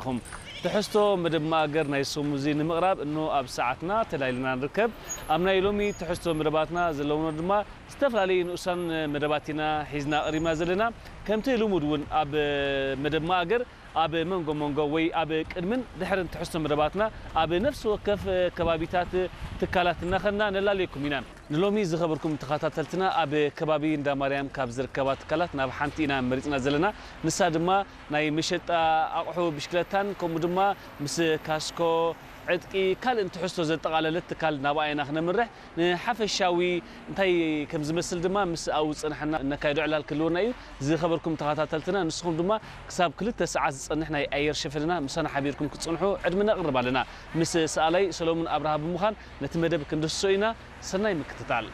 ኢኹም። ትሕዝቶ መደብ መኣገር ናይ ሰሙዚ ንምቕራብ እኖ ኣብ ሰዓትና ተላይልና ንርከብ። ኣብ ናይ ሎሚ ትሕዝቶ መደባትና ዘለውና ድማ ዝተፈላለዩ ንኡሳን መደባት ኢና ሒዝና ቀሪብና ዘለና። ከምቲ ልሙድ እውን ኣብ መደብ መኣገር ኣብ መንጎ መንጎ ወይ ኣብ ቅድምን ድሕርን ትሕዝቶ መደባትና ኣብ ነፍሲ ወከፍ ከባቢታት ትካላት እናኸድና ነላልየኩም ኢና። ንሎሚ ዝኸበርኩም ተኸታተልትና ኣብ ከባቢ እንዳ ማርያም ካብ ዝርከባ ትካላት ናብ ሓንቲ ኢና መሪፅና ዘለና። ንሳ ድማ ናይ መሸጣ ኣቑሑ ብሽክለታን ከምኡ ድማ ምስ ካስኮ፣ ዕጥቂ፣ ካልእን ትሕዝቶ ዘጠቓለለት ትካል ናብኣ ኢና ክነምርሕ። ንሓፈሻዊ እንታይ ከም ዝመስል ድማ ምስ ኣብኡ ዝፀናሕና እነካይዶ ዕላል ክህልወና እዩ። ዝኸበርኩም ተኸታተልትና ንስኹም ድማ ክሳብ ክልተ ሰዓት ዝፀንሕ ናይ ኣየር ሸፈንና ምሳና ሓቢርኩም ክትፀንሑ ዕድመ ነቕርብ ኣለና። ምስ ሰኣላይ ሰሎሙን ኣብርሃ ብምዃን ነቲ መደብ ክንድህስሶ ኢና። ሰናይ ምክትታል።